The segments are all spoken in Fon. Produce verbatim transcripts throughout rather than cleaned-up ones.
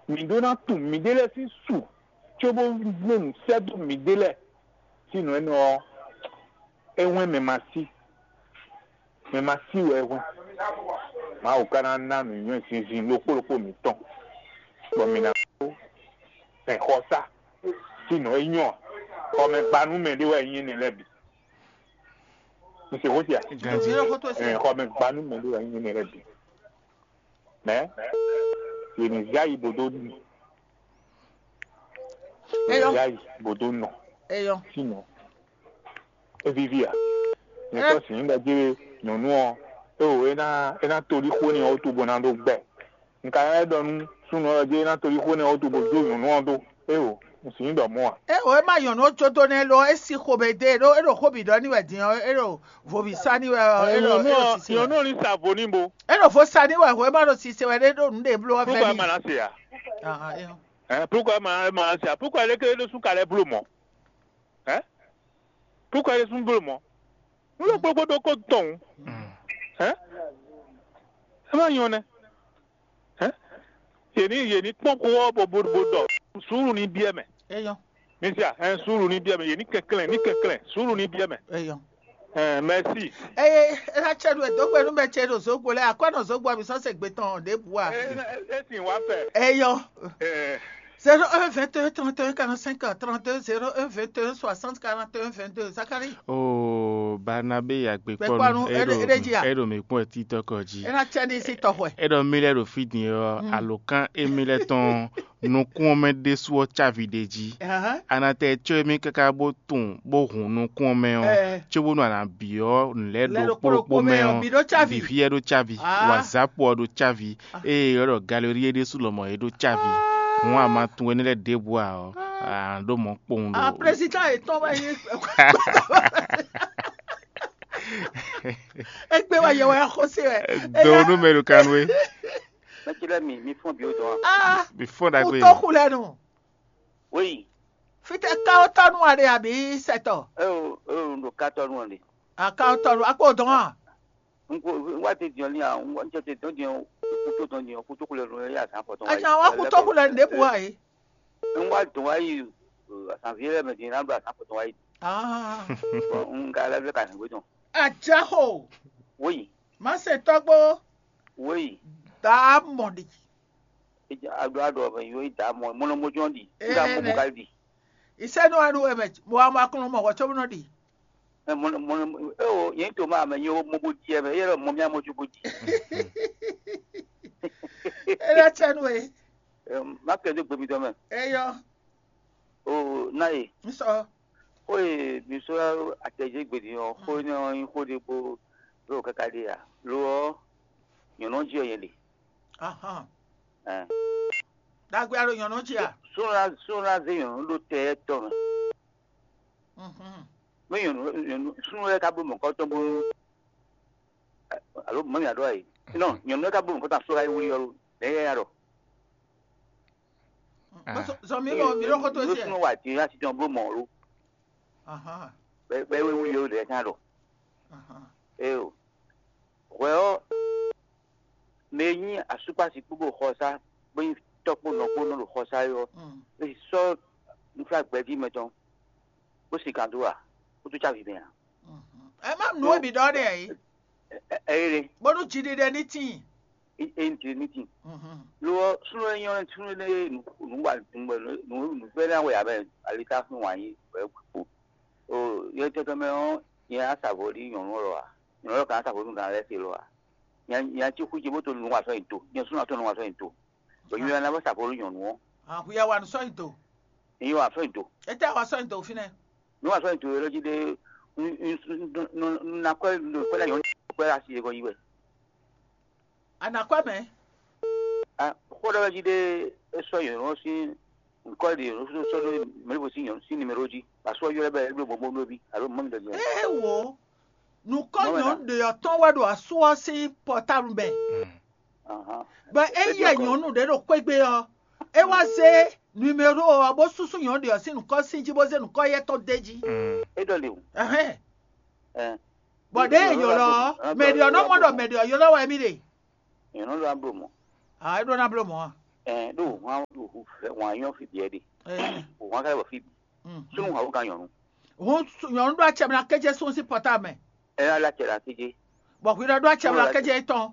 Mǐ ɖó ná tunwun mǐɖée lɛ́ɛ sín su cóbó nɔ nǔ sɛ́ dó mǐɖée lɛ́ɛ sín nǔ énɛ́ ɔ́, é hwɛ́n mɛ ma sí. Mɛ ma sí wɛ é hwɛ́n. Mawu ka ná ná nǔnywɛ́ zinzin ɖokpó ɖokpó mǐtɔn, bɔ mǐ ná kó hɛn xɔsá sín nǔ e nyɔ́ xɔmɛgbanú mɛ ɖé wɛ nyí énɛ́ lɛ́ɛ bǐ. Un se xó sia? Ganjí. Xɔmɛgbanú mɛ ɖé wɛ nyí énɛ́ lɛ́ɛ bǐ. Mɛ yě ní zé ayi bó dó nu. Yě ní zé ayi bó dó nɔ. Eyɔ. Sinɔ, é víví a? Nyɛ tɔ́ sǐn ɖɔ jí nyɔ̌nu ɔ́, é wǒ é ná é ná tolí xó n'i ɔ́ wútu bó ná ɖó gbɛ. Un ka ná ɖɔ nú súnnu ɔ́ jí é ná tolí xó n'i ɔ́ wútu bó dó nyɔ̌nu ɔ́ dó. É wǒ, un sǐn ɖɔ mɔ̌ a? É wǒ é má nyɔ̌nu ɔ́ jó dó nɛ́ lo ɔ́, é sí xomɛ dó e ɖó é ɖo xó bǐ ɖɔ n'i wɛ din ɔ́, é ɖo vo bǐ sa n'i wɛ ɔ́, é ɖɔ é ɖo sise wɛ. Nyɔ̌nu ɔ́ ní sa vo n'i bo. É ɖo vo sa n'i wɛ hwɛ é má ɖo sise wɛ ɖé ɖo nǔɖé bló ɔ́ Púkɔ vɛ́ é ma ná se a? Ahan, é hɔn. Ɛ púkɔ é ma é ma ná se a? Púkɔ é léké é ɖó sún ka lɛ́ bló mɔ̌? Ɛ púkɔ é ɖó sún bló mɔ̌? Nú ló gbogbo ɖokó tɔn. Ɛ ɛ má nyɔ nɛ. Ɛ yě ní yě ní kpɔ́n xó ɔ́ bó bó bó ɖɔ suúlu ní biɛ mɛ. Eyɔn. Misia, ɛ suúlu ní biɛ mɛ, yě ní kɛnklɛn ní kɛnklɛn suúlu ní biɛ mɛ. Eyɔn. Ɛ mɛsi. Eye é ná cɛ nú ɛ dó gbe nú mɛ ce ɖo zǒgbo lɛ́ɛ akwɛ́ nɔ zǒgbo ɔ́ mi sɔ́ se gbe tɔn ɖěbǔ a? É é sin wá fɛ. Eyɔn. Ɛ zéro un vingt et un trente et un quarante-cinq trente-deux, zéro un vingt et un soixante quarante et un vingt-deux. Zacharie. Oo, Barnabé Gbɛkpɔ́nú, agbekpɔ́nú, é ɖo é ɖo jí a? É ɖo mǐ kpɔ́n títɔ́kɔ jí. É ná cɛ ní sí tɔxɔɛ. É ɖɔ mí lɛ́ɛ ɖo fí din ɔ́, alǒkan émí lɛ́ɛ tɔn nukún ɔ́ mɛ ɖésú ɔ́ cávi ɖ'é jí. Anatɛ có émí káká bó tunwun bó hun nukún ɔ́ mɛ ɔ́, cóbónú a nǎ byɔ́ nǔ lɛ́ɛ ɖo kpóɖokpó mɛ ɔ́, bǐ ɖó cávi. Vǐví ɔ́ ɖó cávi, wǎzápo ɔ́ ɖó cávi, ée é ɖɔ galerí é ɖésú lɔmɔ̌ é ɖó cávi. Hǔn a ma tunwun énɛ́ lɛ́ɛ ɖěbǔ ǎ ɔ́, a nǎ ɖó mɔ̌ kpowun ɖo. Président yětɔn wɛ nyí. Égbé wɛ yɛ wɛ xóse wɛ. Do nú mɛ ɖo kanwé. Mɛtsilɛ mi mi fún bi o dɔn. Ah, Before that kú way. Tó xu lɛ nu. Oui. Fitɛ káwó tɔnu wa ɖe àbí sɛtɔ? Eo eo ɖo katɔnu ɖe. Akáwó tɔnu akpó dɔn a? N ko n wá te diɔn ní a n wá n tɛ te dɔn diɔn kú tó dɔn diɔn kú tó xu lɛ nu ya zan fɔtɔn. Ajan wa kú tó xu lɛ nu ɖe bu wa yi. N wá dɔn wá yi azanvi lɛ mɛ din na ɖo azan fɔtɔn wá yi. Ah. N ka lɛ fɛ ka hɛn gbé dɔn. Ajaxo. Oui. Má se tɔgbo. Oui. Daa mɔ ɖi. Aɖo aɖo ɔmɛ yó yi daa mɔ mɔnɔ mɔjɔ ɖi. Nga mɔ bukali ɖi. Isɛnu anu ɛmɛ mo wa ma kɔnɔ mɔ wɔ tso nɔ ɖi. Mɔnɔ mɔnɔ eo yɛn to ma mɛ yó mɔ bo di ɛmɛ yɛ mɔ mi amɔ tso bo di. Ele tsɛnu e. Ma kɛ do gbe mi dɔ mɛ. Eyɔ. O na ye. Nsɔ. Xó e mi sɔ́ atɛjɛ gbe din ɔ́, xó énɛ́ ɔ́ nyí xó ɖé bó ɖo káká ɖe ǎ. Lo ɔ́, nyɔ̌nu ɔ́ jí wɛ nyɛ ɖe. Ahán. Ɛn. Ɖagbe a ɖo nyɔ̌nu jí a? Súnnu ná súnnu ná zé nyɔ̌nu ɖó tɛ étɔn mɛ. Mhm. Mɛ nyɔ̌nu nyɔ̌nu súnnu lɛ́ɛ ka bló mɔ̌kɔ́tɔn bónú alo mɔ̌ mǐ ɖɔ ɛ? Nɔ nyɔ̌nu lɛ́ɛ ka bló mɔ̌kɔ́tɔn asú ka yi wlí ɔ́ lo, nɛ̌ yɛ ya ɖɔ? Zɔn mi lɔ mi lɔ xɔtɔ Nú esi. Súnnu wa din ya titɔn bló mɔ̌ lo. Ahán. Bɛ bɛ wé wlí ɔ́ lɛ́ɛ kan ɖɔ. Ahán. Eo. Hwɛ ɔ́, mɛ e nyí asúkpasi kpó ɖo xɔsá, bó nyí tɔ́ kpó nɔ kpó nɔ ɖo xɔsá é ɔ́, Mm. é sɔ́ nǔflágbɛjí mɛtɔn, bó si kan dó ǎ, bó dó cávi mɛ ǎ. Mhm. Ɛ má nǔ e bǐ ɖɔ nɛ ɛ. Ɛ ɛ ɛ Bónú jiɖiɖe ní tíin. É é ní ní tíin. Mhm. Lo ɔ́, súnnu e nyɔ́ súnnu e nǔ nǔ wa nǔ nǔ nǔ fɛ́nɛ wɛ ǎ mɛ, ali tá fún wǎn yí wɛ kpo. O yɛ tɛtɛ mɛ ɔ́, nyɛ á sa vo ɖi nyɔ̌nu lɔ ǎ. Nyɔ̌nu lɔ ka ná sa vo nú gan lɛ́ɛ se lɔ ǎ. Nya nya cí xwíjɛ bó to nu wa sɔ́ nyi do, nyɛ súnnu atɔ́ nu wa sɔ́ nyi do. Bɔ nyɛ ná bó sa vo nú nyɔ̌nu ɔ́. Ahwi ya wa nú sɔ́ nyi do. Nyɛ wa sɔ́ nyi do. Étɛ́ wa sɔ́ nyi do fínɛ́? Nyɛ wa sɔ́ nyi do é lɔ jí ɖé un un un un un ná kɔ́ un kɔ́ ná nyɔ̌nu kɔ́ asi e gɔ́ yi wɛ. A nǎ kɔ́ mɛ? Xó ɖɔ wɛ jí ɖé é sɔ́ nyɔ̌nu ɔ́ sín ŋkɔ́ ɖe nyɔ̌nu sɔ́ ɖó mɛ̌ ɖěvo sín nyɔ̌nu sín nimero jí. Asú ɔ́ ylɔ́ bɛ é bló mɔ̌ bó ɖó ví alo mɔ̌ mi ɖɔ jɛ. Ee wo, nǔkɔ́ Mɔ̌ mɛ nyɔ̌nu ɖě ɔ́ tɔn wɛ ɖo asú ɔ́ sín pɔtáblu mɛ. Bɔ é yɛ nyɔ̌nu ɖě ɖo xwégbe ɔ́, é wá zé nimero ɔ́ bó súsú nyɔ̌nu ɖě ɔ́ sín nǔkɔ́ sín jí bó zé nǔkɔ́ yɛ́ tɔn d'é jí. É ɖɔ le o. Ɛhɛn. Ɛ. Bɔ ɖěe è ylɔ́ ɔ́, mɛ ɖě ɔ́ nɔ mɔ ɖɔ mɛ ɖě ɔ́ ylɔ́ wɛ mì ɖe. Nyɔ̌nu ɖó ná bló mɔ̌. A é ɖó ná bló mɔ̌ a? Ɛɛ ɖo hwan ɖo hu fɛ hwan nyɔ fi biɛ ɖe. Ɛɛ. O hwan ka bɔ fi bi. Mhm. Sunu hwan wo ka nyɔnu. Hun nyɔnu ɖo acɛ mɛ na kéje sun sín pɔta mɛ. Ɛ ya la cɛ la kéje. Bɔ hwi ɖɔ ɖo acɛ mɛ na kéje tɔn.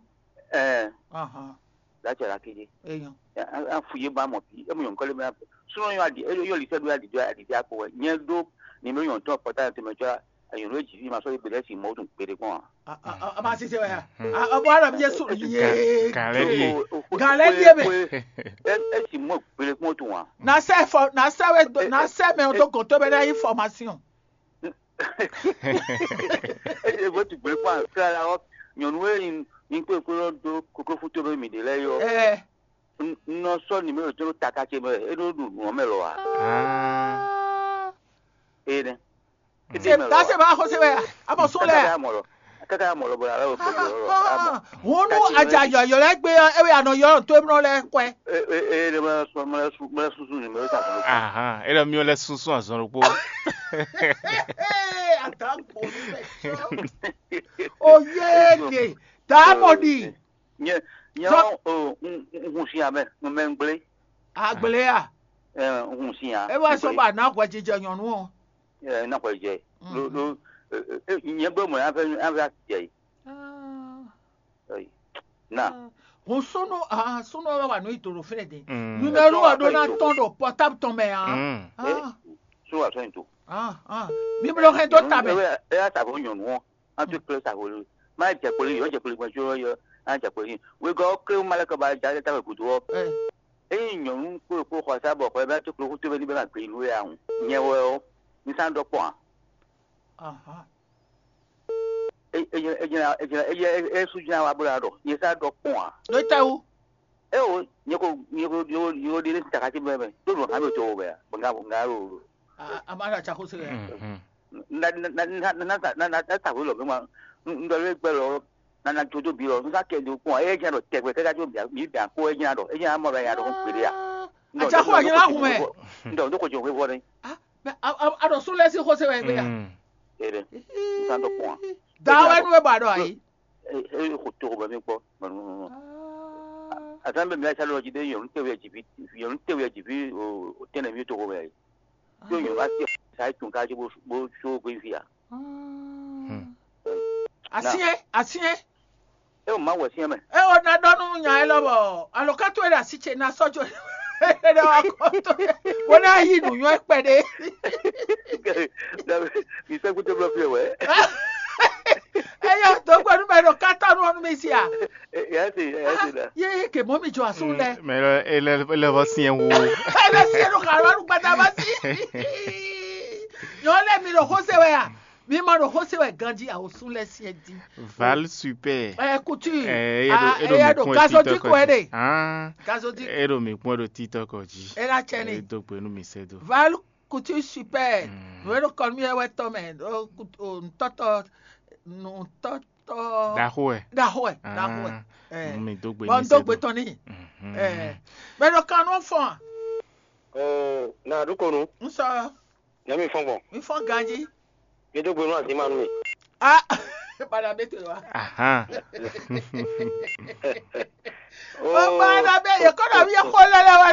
Ɛɛ. Ahan. La cɛ la kéje. Eyan. A fu ye ba mɔ bi e mu nyɔnu kɔle mɛ. Sunu yɔ adi e yɔ lisɛ ɖo adi do adi di akpo wɛ nyɛ ɖo ni mɛ nyɔnu tɔn pɔta tɛmɛ tsɔ. Ayɔnɔ e jǐ ma sɔ́ yi gbeɖé si mɔ̌ tun gbeɖé kpɔ́n ǎ. A ma sise wɛ ya. A bɔ ala mi ye su ye. Galɛ ye. Galɛ ye mɛ. E si mɔ gbeɖé kpɔ́n tun ǎ. Na sɛ fɔ na sɛ wɛ do na sɛ mɛ o do gɔn to bɛ na yi formation. E bɔ tu gbeɖé kpɔ́n ǎ kla la ɔ nyɔnu e yin kpé kpé lɔ do koklo fún to bɛ mi ɖe lɛ yɔ. Ɛ. N nɔ sɔ́ numéro tɔn ɖo tata ce mɛ, é nɔ ɖu nǔ ɔ́ mɛ lɔ ǎ. Énɛ́. Ṣe dá ṣe máa xó ṣe wɛ a? A mɔ sún lɛ a? Káká mɔ lɔ bɔlá lɔ kó lɔ lɔ. Hunu aja yɔyɔ lɛ gbé ɔ, ewé anɔ yɔ tó emlɔ lɛ kɔɛ. Ee ee ee mɛ sún mɛ sún mɛ sún sún numéro tɔn. Ahan, e lɔ miɔ lɛ sunsun azɔn ɖokpó. Ata gbɔ mi mɛ. Oyé de, dàmɔ̀dì. Nyɛ nyɛ Zɔ- o n n hun si amɛ n mɛ n gblé. Agblé a? Ɛ n hun si a. E wá sɔ ba ná hwɛjijɛ nyɔnu o. Ɛ na hwɛ jɛ. Lo lo nyɛ gbé mɔ an fɛ an fɛ asi jɛ yi. Ɛyi. Na. Hun sunu ah sunu wɛ wà nù ìdòrò fínɛ dé. Numéro wà ɖó ná tɔn ɖo portable tɔn mɛ ah. Ah. Sunu wà sɔn ìdò. Ah ah. Mi bolo hɛn dó ta mɛ. E y'a sa fún nyɔnu ɔ. An tó kplé sa hwenu. Má jɛ kpoli yɔ jɛ kpoli gbɔn jó yɔ. An jɛ kpoli. Wegɔ ɔ klé malɛ kɔ ba ja ta wɛ gudu ɔ. Eye nyɔnu kpó kpó xɔ sá bɔ xɔ bɛ tó kplé xútó bɛ ní bɛ ma gbé nú ya hùn. Nyɛ wɛ ɔ, ní sá dɔ kpɔn a. Aha. E e e e e e su jina wa bó la dɔ. Nyɛ sá dɔ kpɔn a. Ló tɛ wú. E o, nyɛ ko nyɛ ko nyɛ ko ɖe ní takati bɛ bɛ. Tó dùn hàn mi tó o bɛ a. Bɔn ká bɔn ká yóò. A a ma ɖo atsako se yɛ. Na na na na na na na na ta wé lɔ mi ma n dɔ lé gbɛ lɔ na na jodo bi lɔ n ka kɛ do kpɔn e jɛ dɔ tɛgbɛ kɛ ka jo mi bɛ ko e jɛ dɔ e jɛ amɔ bɛ ya dɔ ko gbede ya. Atsako a nyina kun mɛ. N dɔ n dɔ ko jɔ wé vɔ ne. Mɛ a dɔ sun lɛ si xose wɛ gbé ya. E dɛ n san dɔ kpɔn a. Da wɛ nu bɛ ba dɔ ayi. E e ko to bɛ mi kpɔ. Azan bɛ mi ayi sa lɔ ji de yɔn te wɛ jibi yɔn te wɛ jibi o tɛnɛ mi to ko bɛ ayi. Yóò yàn bá sí ṣáà tún ká bó bó ṣó gbé fi à. Asyɛn asyɛn. E ò má wẹ̀ sí ẹ mẹ́. E ò ná ɖɔ nú nya élɔ́ bɔ alɔkátó e ɖo así ce ná sɔ́ jó e ɖɔ wá kɔ tó bó ná yí nǔnywɛ́ kpɛɖé. Mi sɛ́ kúté blɔ́ fí ɛ wɛ. Eyɔ dǒgbɛ́nú mɛ ɖo kátɔ́nú ɔ́ nú mi sia. Yɛ se yɛ se ɖa. Yé ke mɔ mi jɔ asú lɛ. Mɛ lɔ ele ele vɔ siɛ wo. Ele siɛ ɖo xalɔ ɖo gbadama si. Nyɔ lɛ mi ɖo xóse wɛ a? Mi ma ɖo xóse wɛ ganji awosún lɛ siɛ di. Val super. Ɛ kutu. Ɛ eɖo eɖo mi kpɔn ɖo titɔ kɔ ji. Gazodi. Eɖo mi kpɔn ɖo titɔ kɔ ji. Ela tsɛ ni. Edo gbe nu mi sɛ do. Val kutu super. Nú eɖo kɔ nú yɛ wɛ tɔ mɛ. Ntɔtɔ ntɔtɔ. Ɖaxó wɛ. Ɖaxó wɛ, ɖaxó wɛ. Ɛ. Mi dó gbe bɔn ní dó gbe tɔn ní. Ɛ. Bɛ ɖo kan nɔ fɔn. Ɔ na ɖu ko nu. N sɔ. Nyɛ mi fɔn gbɔn. Mi fɔn ganji. Mi dó gbe nú azin ma nú mi. Ah. Bana bɛ to wa. Ahan. O bana bɛ ye kɔnɔ mi ye xɔ lɛ lɛ wa.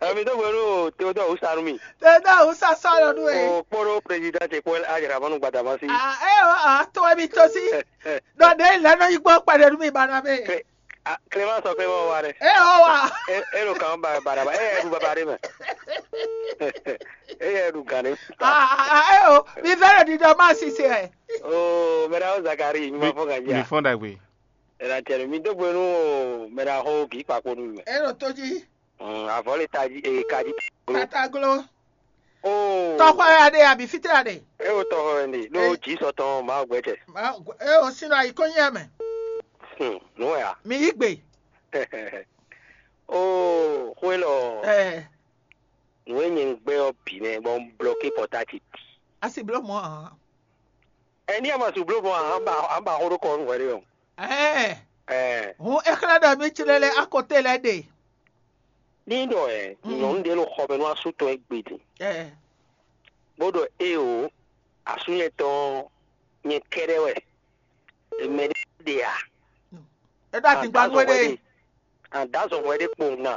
Ami dó gbe nú Théodore Oussarumi. Théodore Oussa sɔlɔ nú e. O kpɔɖo président ti kpɔ ajara mɔnu gbadamasi. Ah, eh, oh, ah, to mi to si. Dɔ de lɛ nɔ yi gbɔ kpɛɖe nú mi bana bɛ. Clément sɔ Clément wa ɖe. Eh, oh wa. E ɖo kan ba badaba. E ɖu baba ɖe mɛ. E ɖu gan ɖe. Ah, ah, eh, oh, mi vɛ ɖo didɔ ma sise. Oh, mɛɖa o Zakari, mi ma fɔ gan ja. Mi fɔn dagbe. Ela tɛ mi dó gbe nú mɛɖa xó kì í kpakpo nú mi. E ɖo tó jí. Avɔ le tají eye kají. Tataglo. Oo. Tɔxɔ ya ɖe abi fitɛ ya ɖe. E wo tɔxɔ wɛ ne ɖo dzi sɔtɔn ma gbɛ tɛ. E o sin ɖo ayi kɔnyi ya mɛ. Hmm, nú wɛ a? Mi yi gbe. Oo, xwé lɔ. Ɛ. Nú e nyɛ ń gbɛ ɔ bǐ nɛ bɔ un blɔké pɔtáti. Asi bló mɔ hàn. Ɛ ní a ma su bló mɔ hàn ba hàn ba xó ɖó kɔ nú hwɛ ɖé o. Ɛɛ. Ɛ. Hun exlɛ́ ɖɔ mi ci lɛ lɛ akɔte lɛ ɖe. Ní ɖɔ ɛ nyɔ̌nu ɖé ɖo xɔ mɛ nú asú tɔn égbé din. Ɛ. Bó ɖɔ éeǒ, asú nyɛ tɔn nyɛ kɛ́ɖɛ́ wɛ. Mɛ ɖé ɖe a? É ɖo adǐngba nú we ɖe. An dǎ zɔn hwɛ ɖé kpowun ná.